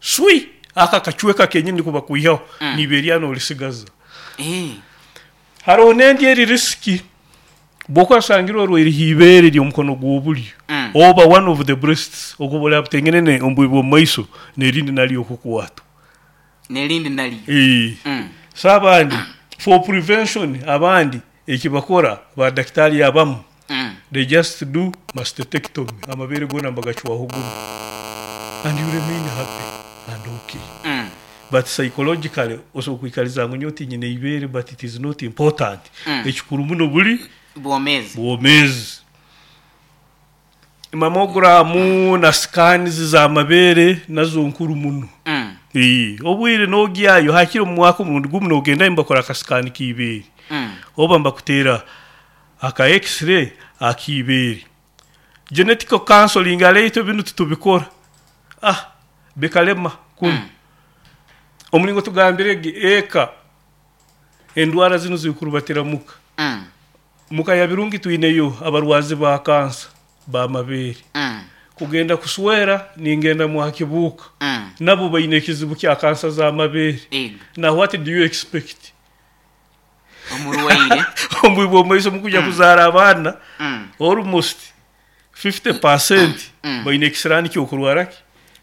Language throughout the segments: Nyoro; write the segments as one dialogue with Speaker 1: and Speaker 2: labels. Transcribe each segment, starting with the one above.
Speaker 1: Swi! Ako akacweka kenyini niko bakwihaho, n'ibeere lyawe n'olisigaza. Haroho n'endi eri risiki, bw'okuba osangirwe orwaire ha ibeere ly'omukono gw'obulyo oba one of the breasts, okuba oli abutengene omu bwire bw'omu maiso n'erindi naryo okukwatwa.
Speaker 2: N'erindi naryo.
Speaker 1: So abandi for prevention abandi eki bakora ba dakitaali abamu they just do mastectomy amabeere goona nibagacwaho gumu and you remain happy and okay but psychologically osobola kwikariza ngu nyowe tinyine ibeere but it is not important ekikuru muno buri
Speaker 2: Bwomeezi.
Speaker 1: bwomeezi. Mammograms na scans z'amabeere nazo nkuru muno. Obwire n'ogyayo hakiri omu mwaka omurundi gumu n'ogendayo nibakora aka scan k'ibeere oba nibakuteera aka x-ray ak'ibeere. Genetical counseling hare itwe binu titubikora ah bikalema kunu. Omuringo tugambire ge eka endwara zinu zirikurubatira muka. Muka ya Birungi twineyo abarwazi ba kansa b'amabeere. Kugenda kuswera ningenda mwa Kibuuka nabo baine ekizibu kya kansa z'amabeere. Now what do you expect?
Speaker 2: Omurwaire.
Speaker 1: Omu bwire bw'omumaiso mukwija kuzaara abaana almost 50% baine ekisiraani ky'okurwara ki?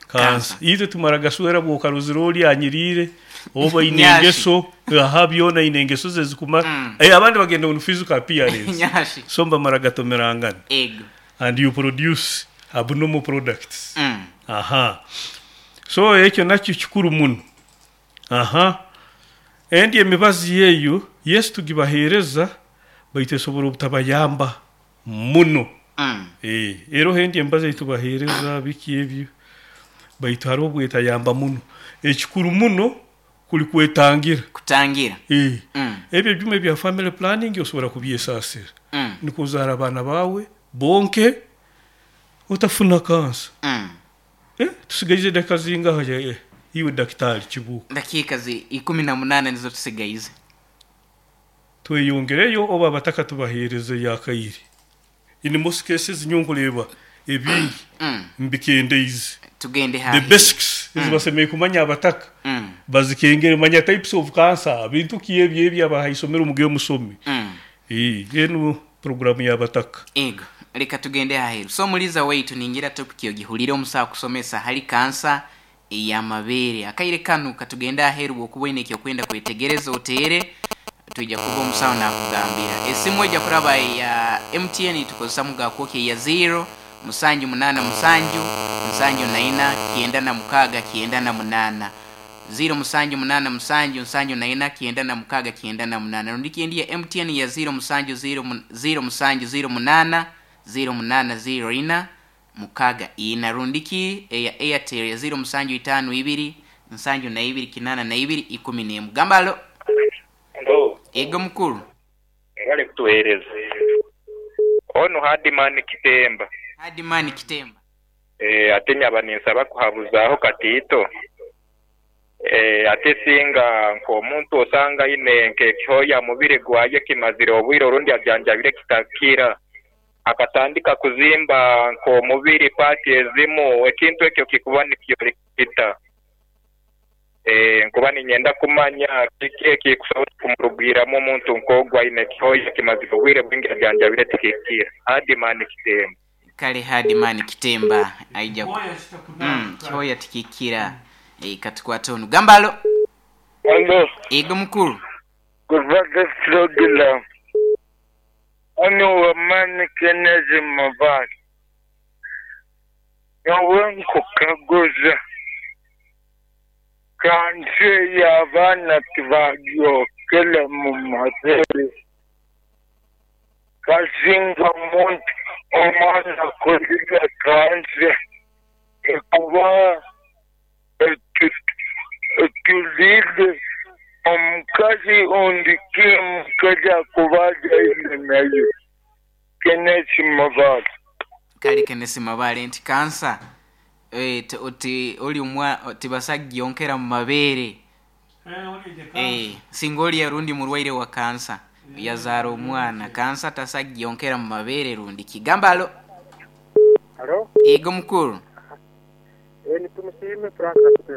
Speaker 1: Kansa. Itwe tumara gaswera bw'okarozire ori anyiriire oba aine engeso aha byona aine engeso ze ezikumara. Abandi bagenda on physical appearance so nibamara gatomerangana and you produce abnormal products. Aha so ekyo nakyo kikuru muno. Aha endi emibazi eyo yes tugibaheereza baitu esobora obutabayamba muno. Eroho endi emibazi ei tubaheereza biki ebyo baitu haroho obu etayamba muno. Ekikuru muno kuri kwetangira.
Speaker 2: Kutangira.
Speaker 1: Ebyo ebyoma ebya family planning osobora kubyesaasira nikwo ozaare abaana baawe bonke otafuna kansa. Tusigaize edakika zingaha iwe Dakitaali Kibuuka?
Speaker 2: Dakiika 18 nizo tusigaize.
Speaker 1: Tweyongereyo oba abataka tubaheereze akaire. In most cases nyowe nkureeba ebingi mbikendeize.
Speaker 2: Tugende
Speaker 1: The
Speaker 2: haahi.
Speaker 1: basics ezi basemeriire kumanya abataka bazikengere. Manya types of cancer, bintu ki ebyo ebi abaha isomero mugende musome. Enu puroguramu y'abataka.
Speaker 2: Ego, leka tugende aheeru. So omuliiza waitu ningira topic ogihuriire omusaho akusomesa hali kansa ey'amabeere. Akaire kanu katugende aheeru bwokuba oine ekyokwenda kwetegereza oteere twija kuba omusaho nakugambira. Esimu eja kuraba eya MTN tukozesa muga kwokya eya ziro musanju munana musanju nsanju na ina kyenda na mukaga kyenda na munana. Ziro musanju munana musanju nsanju na ina kyenda na mukaga kyenda na munana. Rundiki endi ya MTN ya ziro musanju ziro ziro musanju ziro munana ziro munana ziro ina mukaga ina. Rundiki eya Airtel ya ziro musanju itaano ibiri nsanju na ibiri kinana na ibiri ikumi n'emu. Gamba halo.
Speaker 3: Halo.
Speaker 2: Ego mukulu.
Speaker 3: Mwebale kutuwereza. Onu Hardman Kitemba.
Speaker 2: Hardman Kitemba.
Speaker 3: Eeh ate nyaba ninsaba kuhabuzaaho katiito. Eeh ate singa nk'omuntu osanga aine nk'ekihooya mubiri gwaye kimazire obwire orundi ajanjabire kitakira, akatandika kuzimba nk'omubiri paati ezimu, ekintu ekyo kikuba nikyoleka kita? Eeh nkuba niinyenda kumanya kiki ekikusobola kumurugwiramu omuntu nk'ogu aine ekihooya kimazire obwire bwingi ajanjabire tikikira. Hardman Kitemba.
Speaker 2: Kale Hardman Kitemba aija ku Kihooya tikikira. Katukwate onu. Gamba alo.
Speaker 4: Alo.
Speaker 2: Ego mukulu.
Speaker 4: Kuva ku pulogulaamu. Ono Wamani Kenneth Mabale. Nyowe nkukaguza, kansa eyo abaana tibagyokera mu mabere? Kasinga omuntu omwana akurira kansa ekuba etuliire omukazi ondi ki omukazi akuba azaire nayo? Kenneth Mabale.
Speaker 2: Kale Kenneth Mabale nti kansa oti oli omwa tibasa kugyonkera mu mabeere. Singa oli rundi murwaire wa kansa yazaara omwana, kansa tasa kugyonkera mu mabeere rundi ki. Gamba alo.
Speaker 5: Halo.
Speaker 2: Yego mukuru.
Speaker 5: Ni Tumusiime Frank Nakitera.